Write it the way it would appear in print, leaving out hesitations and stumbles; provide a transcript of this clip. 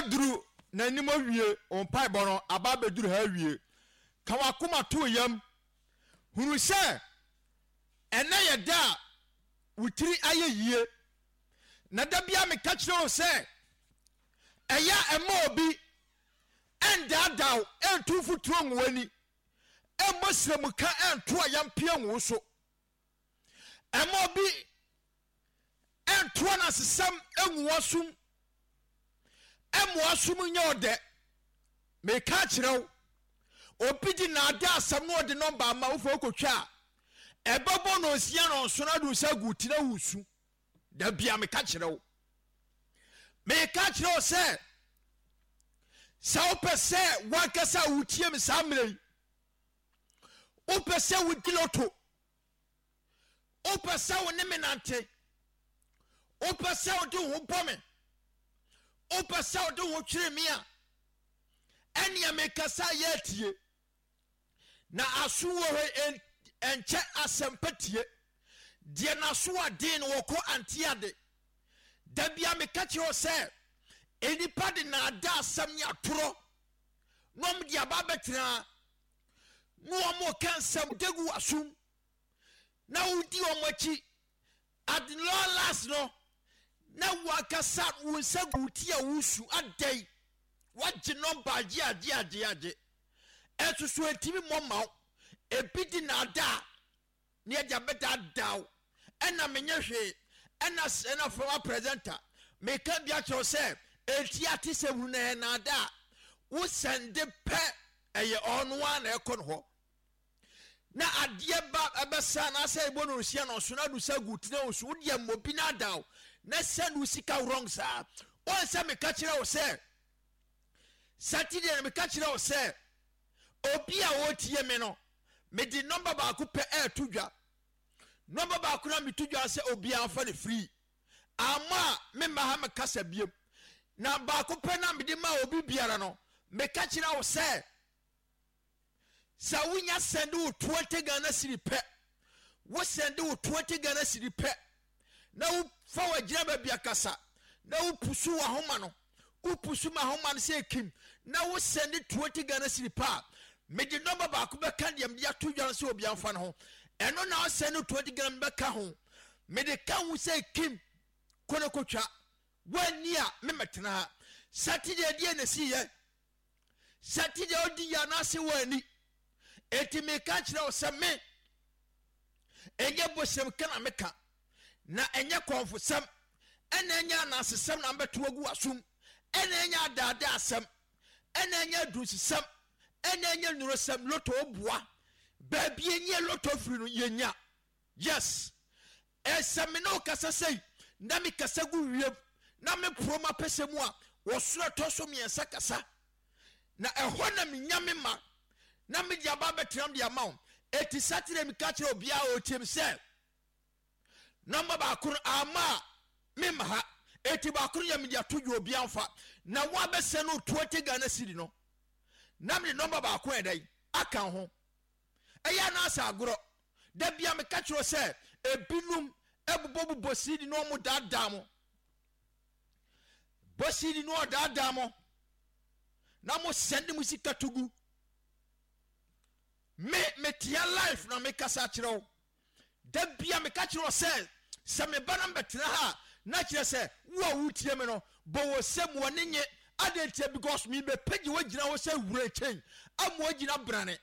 Aduru n'anim awie, wo mpaebɔ no aba abɛduru ha awie. Ka w'akoma to wo yam. Hunu sɛ ɛnnɛ yɛ da a wo tiri ayɛ yie. Na da biara meka kyerɛ wo sɛ ɛyɛ a ɛmma obi ɛndaadaa wo, ɛntu mfuturo ngu w'ani, ɛmmɔ sramuka ɛnto ayampeɛ ngu wo so. Ɛmma obi ɛnto anasesɛm ngu w'asom, ɛmma w'asom nyɛ ɔdɛ. Meka akyerɛ wo, obi de naadaa asɛm na ɔde nɔmba ama wo fa wokɔtwa a, ɛbɛbɔ no nsia na ɔnso no ade wo nsa agu wo ti na woresu. Da bia meka kyerɛ wo. Meka kyerɛ wo sɛ, sɛ wopɛ sɛ wankasa a wotie me saa mmerɛ yi, wopɛ sɛ wodi loto, wopɛ sɛ wo ne me nante, wopɛ sɛ wode wo ho bɔ me, wopɛ sɛ wode wo ho twere me a, ɛnea mekasa yɛ atie. Na aso wɔ hɔ ɛnkyɛ asɛmpa tie. Deɛ n'aso aden no wɔkɔ ante ade. Da bia meka kyerɛ wo sɛ nnipa de naadaa asɛm ne atorɔ na wɔn de aba abɛtena na wɔn ka nsɛm de gu w'asom na wodi wɔn akyi. At long last no, na wankasa wo nsa gu wo ti a wosu adɛn wagye nɔmba agye agye agye agye ɛnso so ɛntumi mmɔ mma wo ebi di naadaa ne ɛde abɛdaadaa wo ɛna menyɛ hwee ɛna ɛna fama presenter meka bi akyerɛ wo sɛ ɛnti ate sɛ hunu na ɛyɛ naadaa wo sɛnde pɛ ɛyɛ ɔno ara na ɛkɔ no hɔ na adeɛ ba ɛbɛsa anaasɛ ɛbɔ no nsia na ɔso na adu sɛ gu tena wo so wodeɛ mmɔ bi na ada wo na send wo sika wrong saa wɔn sɛ meka kyerɛ wo sɛ Saturday na meka kyerɛ wo sɛ obi a ɔretie me no mede nɔmba baako pɛ ɛreto dwa nɔmba baako na meto dwa sɛ obiara fa no free ama a memma ha mekasa biem na baako pɛ na mede ma obi biara no meka kyerɛ wo sɛ Sɛ wonya sɛnde wo 20 Ghana cedi pɛ, wo sɛnde wo 20 Ghana cedi pɛ, na wofa w'agyina baabi akasa, na wopusu w'ahoma no, wopusu m'ahoma no sɛ ekim, na wo sɛnde 20 Ghana cedi pɛ a, mede nɔmba baako bɛka deɛ mede ato dwa no sɛ obi amfa no ho. Ɛno na ɔsɛnde 20 Ghana bɛka ho. Mede ka ho sɛ kim, kɔ na kɔtwa. Woanni a, memmɛtena ha. Saturday deɛ na ɛsiiɛ. Saturday odi yɛ anaase wɔani. Enti meka kyerɛ wo sɛ me ɛnyɛ bosem ka na meka na ɛnyɛ kɔnfosɛm ɛna ɛnyɛ anaasesɛm na mbɛto agu w'asom ɛna ɛnyɛ adaadaa asɛm ɛna ɛnyɛ adunsesɛm ɛna ɛnyɛ nnurosɛm loto boa baabi ɛnyɛ loto firi no yɛnya yes Sɛ me ne wo kasa sei, na mekasa gu wiem, na meporo m'apɛsɛ mu a, ɔsoro ɛtɔ so mmiɛnsa kasa. Na ɛhɔ na menya me ma, na mede aba abɛtenam de ama wo. Eti Saturday meka kyerɛ obiara a ɔretie me sɛ, nɔmba baako no ama a memma ha. Eti baako no yɛ mede ato dwa obiara mfa. Na woabɛsɛ no 20 Ghana cedi no, na mede nɔmba baako ɛdɛn aka ho. Ɛyɛ anaasɛ agorɔ? Da bia meka kyerɛ wo sɛ ebinom bobɔbobɔ CD na wɔn daadaa mo. Bɔ CD na wɔdaadaa mo na mo sɛnde mo sika to gu. Me metea life na mekasa kyerɛ wo. Da bia meka kyerɛ wo sɛ sɛ meba na mbɛtena ha a na kyerɛ sɛ wo a wotie me no bɔ wɔ sɛ mu ɔne nye adɛn ntia because mebɛpɛgye woagyina hɔ sɛ wura kyɛn ama woagyina brane.